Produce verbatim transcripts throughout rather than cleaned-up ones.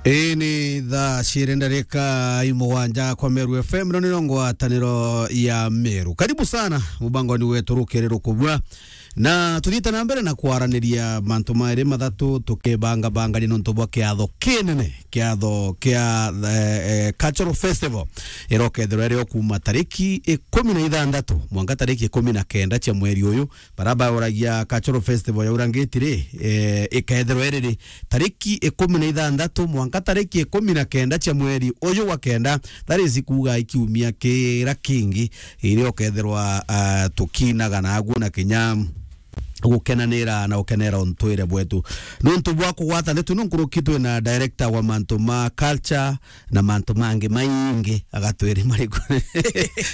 Ii ni thaa ciiri ndarika imugwanja kwa Meru F M, ino nino ngwataniro ya Meru. Karibu sana mubangoni wetu rukiri rukubua. Na tuthiite na mbere na kwaraniria mantu mairi mathatu, tukibangabangania nontu bwa kiatho kinene, kiatho kia, eh, eh, Cultural Festival, irokethirwa iri o kuuma tariki ikumi na ithanthatu mwanka tariki ikumi na kenda cia mweri uyu. Baria bauragia Cultural Festival ya Urangiti ri, eh, ikethirwa iri ri? Tariki ikumi na ithanthatu mwanka tariki ikumi na kenda cia mweri uyu wa kenda, that is kuuga ikiumia kiria kingi, iria ukethirwa, ah, tukinaga naguo na kinya gukenanira na gukenera untwire bwetu. Nontu bwa kugwata ndeto ino nkuruki, twina director wa mantu ma culture, na mantu mangi maingi, agatwiri mariku.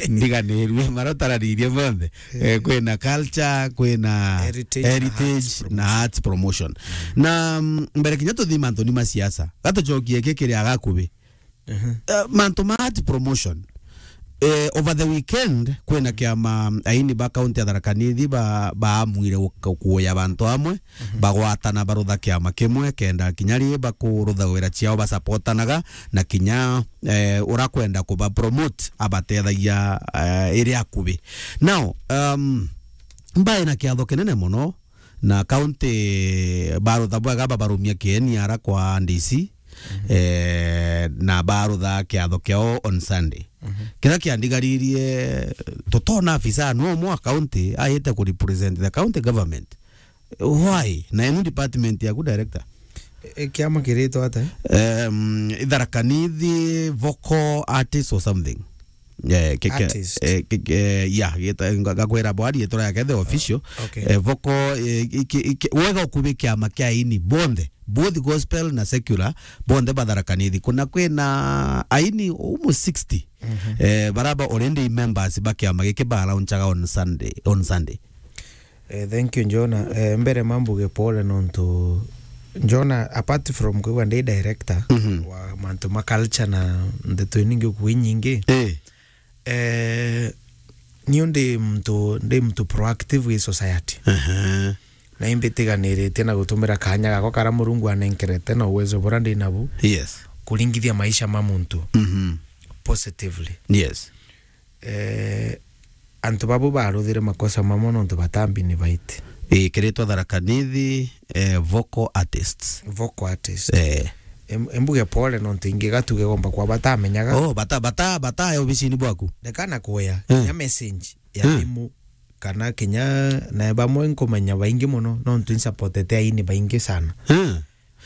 Ndiganirue, maria utararirie monthe. Eh, kwina culture, kwina heritage na heritage arts na promotion. Arts promotion. Na, mm, mbere kinya tuthii mantuni ma siasa, gatucokie giki kiri agakubi. Mhm. Eh, mantu ma arts promotion. Eh, over the weekend, kwina kiama aini ba county ya Tharaka Nithi ba, baamwire guka-, kuuya bantu amwe, bagwatana barutha kiama kimwe, kenda kinya ri bakurutha wira ciao basapotanaga, na kinya, eh, ura kwenda kuba promote abatethagia, eh, iri akubi. Now, um, mbae na kiatho kinene mono, na county barutha bwega babarumia kieni ara kwa D C, eh, na barutha kiatho kiao on Sunday. Kiria kiandigaririe, tutona afisa no mwa county aite ku represent the county government. Why? Na enu department yaku, director? E, kiama kiritwa ata? Um, Tharaka Nithi Vocal Artist or something. Eh, ke-, ke-, artist. Eh, ke-, ke-, yeah, gita-, nga-, ngakwira bwari itwa yake the official. Okay. Eh, Vocal, eh, iki-, iki-, wega ukubi kiama kia aini bonthe, both gospel na secular, bonthe ba Tharaka Nithi. Kuna kwina aini almost sixty. Mhm. Eh, baraba already members ba kiama giki ba launchaga on Sunday, on Sunday. Eh, thank you, Njona. Eh, mbere mambuge pole nontu Njona, apart from kwigua ndi director, mhm, wa mantu ma culture na ndeto iningi ukui nyingi, eh, eh, niu ndi muntu, ndi muntu proactive wi society. Aha. Na imbitiganirite na gutumira kanya gakwa kara Murungu anenkerete na uwezo bura ndi nabu, yes, kuringithia maisha ma muntu, mhm, positively. Yes. Eh, antu babu baruthire makosa mamwe nontu batambi ni baiti. Ii, kiritwa Tharaka Nithi, eh, vocal artists. Vocal artists. Eh. Em-, embuge pole nontu ingi gatuge gomba kwa batamenyaga. Oh, bata, bata, bata, eh, obisini bwaku. Ndekana kuya, eh, kinya message ya, eh, thimu, kana kinya na bamwe nkumenya baingi mono, nontu insupportete aini baingi sana. Eh.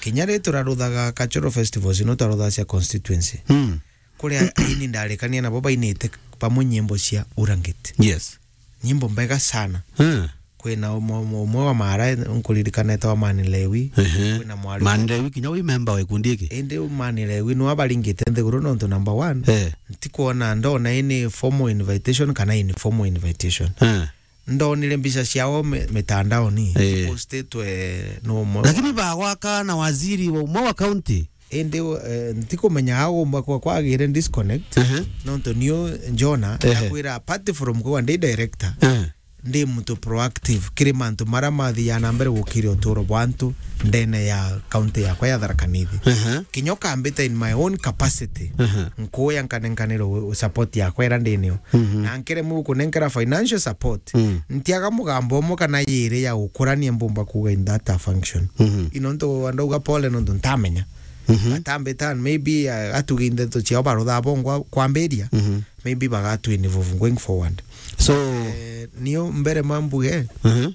Kinya ri turaruthaga cultural festivals, no twaruthaga cia constituency. Mm. Kuria aini ndarikania nabo bainite bamwe nyimbo cia Urangiti. Yes. Nyimbo mbega sana. Mm. Kwina umwe, umwe, umwe wa Mara, nkuririkana etagwa Mani Lewi. Ehe. Kwina mwari Mani Lewi kinya wi member wa ikundi iki? Indi Mani Lewi nwa baringite nthiguru nontu number one. Eh. Ntikwona, ndona ini formal invitation kana informal invitation. Eh. Ndonire mbica ciao mi-, mitandaoni, eh, postitwe no umwe. Lakini bagwaka na waziri wa umwe wa county. Indi, eh, ntikumenya agomba kwa kwagire disconnect. Ehe. Nontu niu Njona, ehe, ndakwira, apart from kuwa ndi director, ehe, ndi muntu proactive kiri mantu mara mathiaga na mbere gukiria uturo bwa antu ndene ya county yakwa ya Tharaka Nithi. Ehe. Kinya ukambita in my own capacity, ehe, nkuya nkanenkanira u-, support yakwa ira ndinio. Mhm. Na nkiremwa gukunenkera financial support, mm, ntiaga mugambo umwe kana yiri ya gukurania mbumba kuuga in that function. Mhm. Ino ntu ndauga pole nontu ntamenya. Mhm. Atambita, maybe, uh, atuge ndeto ciao barutha bongwa kwambiria, mhm, maybe bagatwinvolve going forward. So, eh, niyo mbere mambuge, mhm,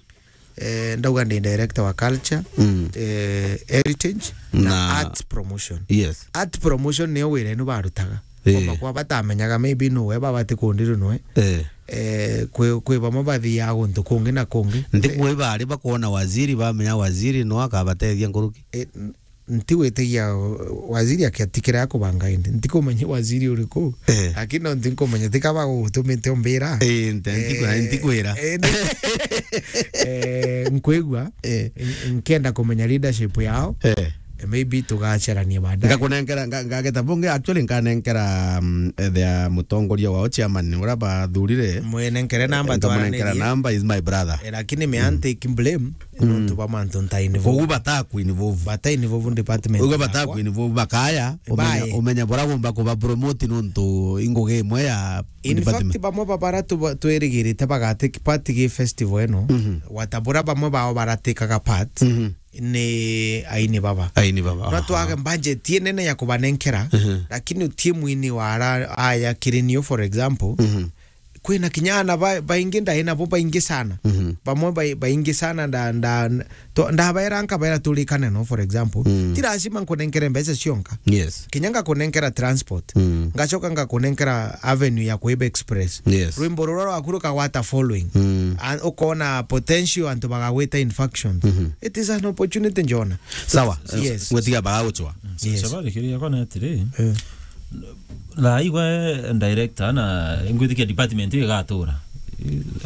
eh, ndauga ndi director wa culture, mm, eh, heritage na, na art promotion. Yes. Art promotion niyo wira inu barutaga. Eh. Omba kwa batamenyaga, maybe no we baba tikundiru nwe. Eh. Eh, kwi, kwi bamwe bathiaga guntu kungi na kungi. Nti kwi bari bakwona waziri, bamenya waziri no akabatethia nkuruki. Eh, n-, ntigwitigia waziri akiatikira ya kubanga indi. Ntikumenya waziri uriku. Eh. Lakini no ntinkumenya tika bagutumite umbira. Eh, nti-, ntiku-, eh, ntikwira. Eh, eh, nkwigua, eh, n-, nkienda kumenya leadership yao. Eh. Maybe tugacerania baadaye. Ngakunenkera, nga-, ngageta bunge, actually, nkanenkera, mm, ethia mutongoria wao, chairman, uria bathurire. Mwenenkere namba, nkamunenkera twaraniririe. Namba, is my brother. Eh, lakini me, mm, take blame, mm, nontu ba mantu nta involve. Koguo bata ku involve. Bata involve department yakwa. Koguo bata ku involve, bakaya, umenya, bae, umenya bora bomba kuba promote nontu ingugi imwe ya, in fact, department. Bamwe ba bara tu-, twirigirite bagatake part gi festival ino, mhm, wata bura bamwe bao baratikaga part, mhm, ni aini baba. Aini baba, no, aha, twage budget inene ya kubanenkera, mhm, lakini utie mwini wa ara aya kirinio, for example, mhm, kwina kinya ana ba-, baingi ndai nabo baingi sana. Mhm. Bamwe bai-, baingi sana nda-, nda-, to-, ndabaera nkabaera turikane no, for example. Mm. Ti lazima nkunenkere mbeca cionka. Yes. Kinya ngakunenkera transport. Mm. Ngacoka ngakunenkera avenue ya kuiba express. Yes. Rwimbo ruria rwaku rukagwata following. Mm. A-, ukona potential antu bagagwita in factions. Mhm. It is an opportunity, njona. Sawa. Yes. Gwetiga bagagucwa. Yes. Sababu kiri yakwa na atiri. Eh. Na igwe director na ngwitikia department igatura.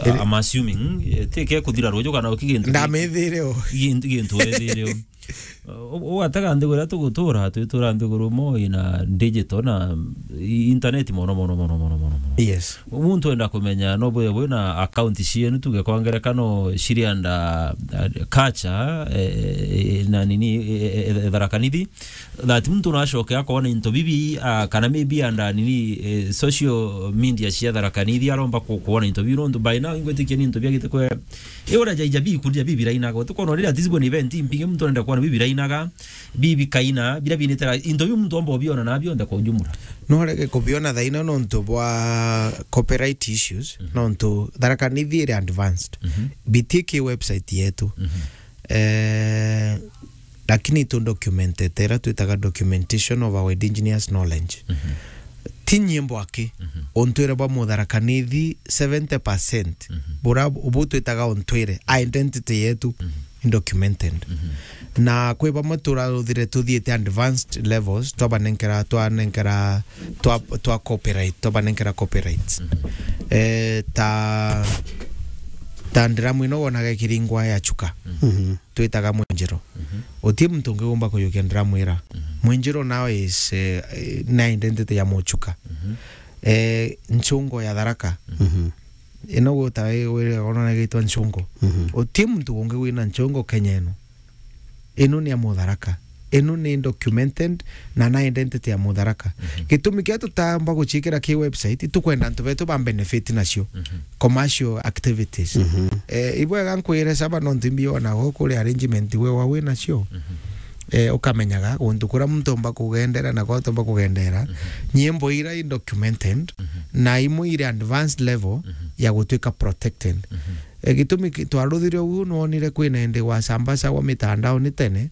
Iri- I'm assuming, eh, ti ke kuthira ruju kana uki gintu. Ndamithire o. Gintu, gintu wethire o. U-, ugatega nthiguru iria tugutura, twitura nthiguru mo ina digital na i-, internet mono, mono, mono, mono, mono, mono. Yes. Muntu enda kumenya no bwe, bwe na account cienu tuge kwa ngerekano ciri under, uh, culture, eh, eh, na nini, eh, eh, eh, Tharaka Nithi, that muntu nacoke akona into bibi, ah, kana maybe under nini, eh, social media cia Tharaka Nithi aromba ku-, kuona into bibi, nontu by now ingwitikia ni into biagite kwe, e ora jaija bi kuria bibi rainaga, utukona rira at least bwe ni event mpinge muntu arenda kuona bibi rainaga, bibi kaina, bira binitera, into biu muntu omba obiona na bionthe kwa ujumla. No rege kubiona thaina nontu bwa copyright issues, mhm, nontu Tharaka Nithi iri advanced. Mhm. Bitiki website yetu. Mhm. Eh, lakini tu documented, ira twitaga documentation of our indigenous knowledge. Mhm. Ti nyimbo aki, mhm, ontwire bwa Mutharaka Nithi seventy percent, mhm, bura bu twitaga ontwire, identity yetu, mhm, documented. Mhm. Na kwi bamwe turaruthire tuthiite advanced levels, twabanenkera, twanenkera, twa, twa copyright, twabanenkera copyrights. Mhm. Eh, ta, ta ndiramu ino wonaga ikiringwa ya Chuka. Mhm. Mhm. Twitaga Mwenjiro. Mhm. Uti muntu ungi umba kuyukia ndiramu ira. Mhm. Mwenjiro now is, eh, eh, na identity ya Muchuka. Mhm. Eh, Nchungo ya Tharaka. Mhm. Ino guta wi-, wiri ona gitwa Nchungo. Mhm. Uti muntu ungi wina Nchungo Kenya ino. Ino ni ya Mutharaka. Ino ni documented na na identity ya Mutharaka. Mhm. Gitumi kia tutamba gucikira ki website, tukwenda antu betu ba benefit nacio. Mhm. Commercial activities. Mhm. Eh, ibwega nkwire saba nontu imbi ona go kuri arrangement we wa wi nacio. Mhm. Eh, ukamenyaga guntu kuria muntu omba kugendera na kwa omba kugendera. Mhm. Nyimbo ira i documented, mhm, na imwe iri advanced level, mhm, ya gutuika protected. Mhm. Eh, gitumi ki-, twaruthire uguo, nwonire kwina indi gwacambacagwa mitandaoni tene,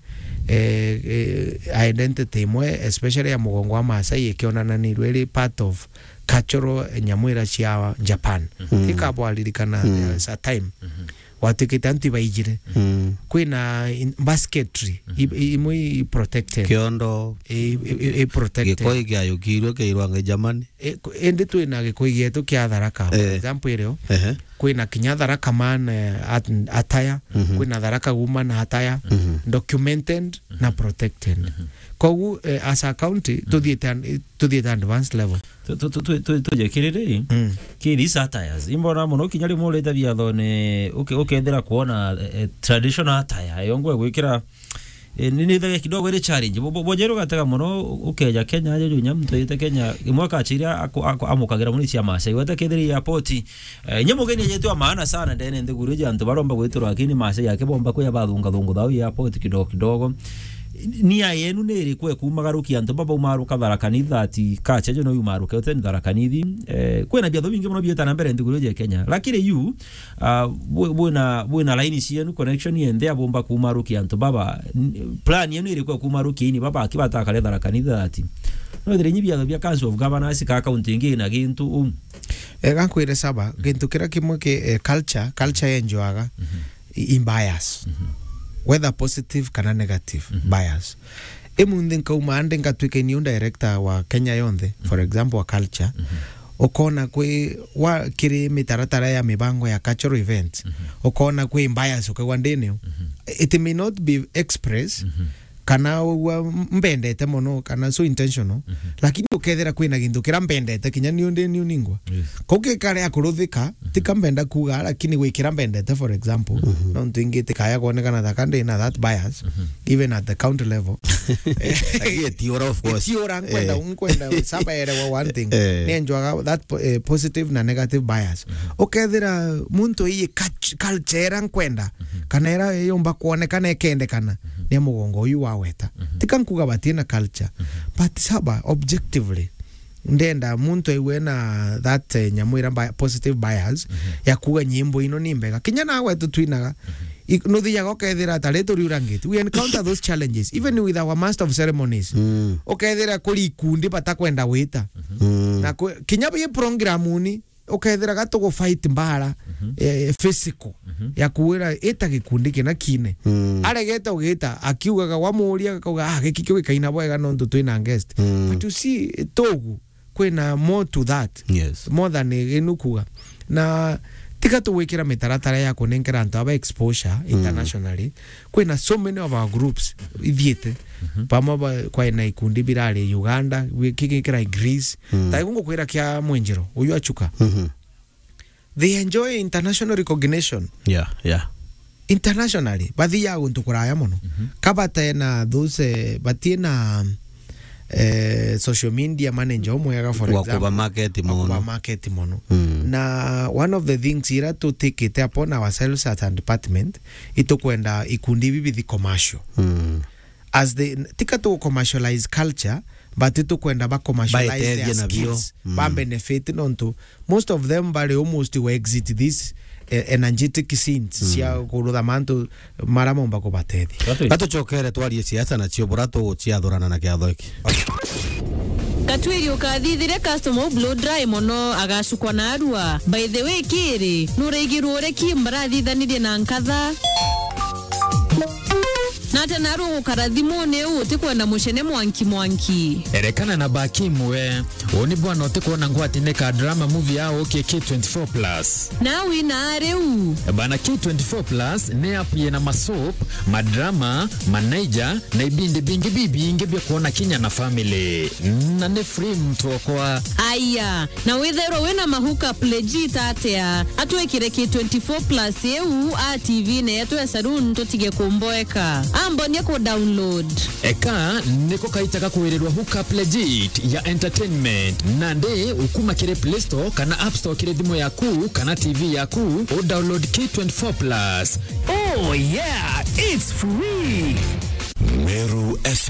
eh, eh, identity imwe, especially ya mugongo wa Maasai, ikionananirwe iri part of cultural nyamu ira cia Japan. Mhm. Tikabwaririkana, mhm, there was a time. Mhm. Gwatuikite antu ibaijire. Mhm. Kwina in-, basketry, mhm, i-, i-, imwe i protected. Kiondo. I, i, i, i protected. Gikoi kiayukirwe kiairwa ngai Germany. E, ku-, indi twina Gikoi gietu kia Tharaka, for, eh, example, irio. Ehe. Kwina kinya Tharaka Man, eh, at-, attire, mhm, kwina Tharaka Woman attire, mhm, documented, mhm, na protected. Mhm. Kogu, eh, as a county, mhm, tuthiite an-, tuthiite advanced level. Tu-, tu-, tu-, tu-, tu-, tuje kiriri, mm, ki these attires. Imbona mono kinya rimwe urite biathone, uke-, ukethira kuona, eh, eh, traditional attire, yongwe gwikira Eh, ni, ni thege kidogo iri challenge. Bo, bo, bojeru gatega mono, ukeja Kenya, aje juu nyamu tuyite Kenya, imwe akachiria ako-, ako-, amukagira muni cia Maasai. Wete kethiri airport, eh, nye mugeni ajetwe wa maana sana ndene nthiguru iji antu baromba gwitirwa, lakini Maasai yake bomba kuya bathunga thungu thao airport kidogo kidogo. Nia yenu ni iriku ekumagarukia antu baba umaruka Tharaka Nithi ati kacha jo no umaruke uteni Tharaka Nithi. Eh, kwina biatho bingi mono bieta na mbere nthiguru iji ya Kenya. Lakini yu, Ah, bwi-, bwina, bwina line cienu, connection yende ya bomba kumarukia antu baba. N-, plan yenu irikwa kumarukia ini baba aki batakare Tharaka Nithi ati. No thire nyi biatho bia Council of Governors ka county ingi na gintu u. Eh, gankwire saba, gintu kira kimwe ki, eh, culture, culture yenjwaga, mhm, i, i bias. Mhm. Whether positive kana negative, mhm, bias. Imunthi nkauma ande ngatwika niu director wa Kenya yonthe, for, mhm, example, wa culture. Mhm. Ukona kwi wa, kiri mitaratara ya mibango ya cultural events, mhm, ukona kwi bias ukagwa ndini. Mhm. It may not be express, mhm, kana ugwa mbendete mono, kana so intentional, lakini ukethira kwina gintu kira mbendete, kinya niu ndi niu ningwa. Yes. Kau gikare akuruthika, tika mbenda kuga, lakini gwikira mbendete, for example, nontu ingi tikaya kwonekana thaka ndi na that bias, even at the county level. Lakini etiora, of course. Etiora, nkwenda, nkwenda saba erewa one thing. Eh. Ni enjoaga that po-, eh, positive na negative bias. Ukethira muntu iyi culture era nkwenda, kana era yomba kwonekana ikendekana, ni mugongo uyu waweta. Tika nkuga batina culture, but saba, objectively, ndenda muntu aigue na that, eh, nyamu ira bi-, positive bias, ya kuga nyimbo ino ni mbega. Kinya nawe tutwinaga, i-, nuthiaga ukethira ta ritu riurangite. We encounter those challenges, even with our master of ceremonies. Ukethira kuri ikundi batakwenda wita. Na kwe-, kinya bi programuni, ukethira ga tugu fight mbara, eh, physical, ya kuwira ita gikundi kina kine. Aregete ugita, akiugaga, wamuria, akauga, "Ah, giki kio gikaina bwega nontu twina guest." But you see, tugu, kwina more to that. Yes. More than inu kuga. Na tiga tugwikira mitaratara ya kunenkera antu aba exposure internationally. Kwina so many of our groups ithiite. Pamwe ba-, kwina ikundi birari Uganda, wi-, kiki kirai Greece. Ta igu ngukwira kia Mwenjero, uyu Achuka. They enjoy international recognition. Yeah, yeah. Internationally, bathiaga guntu kuraya mono. Ka batena those, eh, batina, eh, social media manager umwega, for example. Wa kuba market mono. Wa kuba market mono. Na one of the things ira tutikite upon ourselves as a department, itukwenda ikundi ibi bithi commercial. As the, tika tu commercialize culture, but tukwenda ba commercialize their skills, ba benefit, nontu most of them bari almost we exit this, eh, energetic scenes cia kurutha mantu mara momba kubatethia. Gatucokere twarie siasa nacio bura tuguciathurana na kiatho iki. Gatwiri ukathithire customer u blow dry mono agacukwa na arua. By the way, kiri, nuraigirwo uri ki mbarathithanirie na nkatha? Nate naru gukara thimuni u utikwenda mucene mwanki mwanki. Erekana na baki imwe. Uni bwana utikwona ngwatine ka drama movie ya ukie K twenty-four plus. Na wina riu. Bana, K twenty-four plus ni app yina masoap, madrama, manaija, na ibindi bingi bibingi bia kwona kinya na family. Na ni free mtu okwa. Aya, na withairwa wina ma hookup legit atia, atwikire K twenty-four plus iu a T V ne yetu ya saloon tutige kumboeka. Ambonie ku download. Eka niko kaita ga kwirirwa hookup legit ya entertainment. Nandi ukuma kiri Play Store kana App Store kiri thimu yaku kana T V yaku, u download K twenty-four plus. Oh yeah, it's free. Meru F M.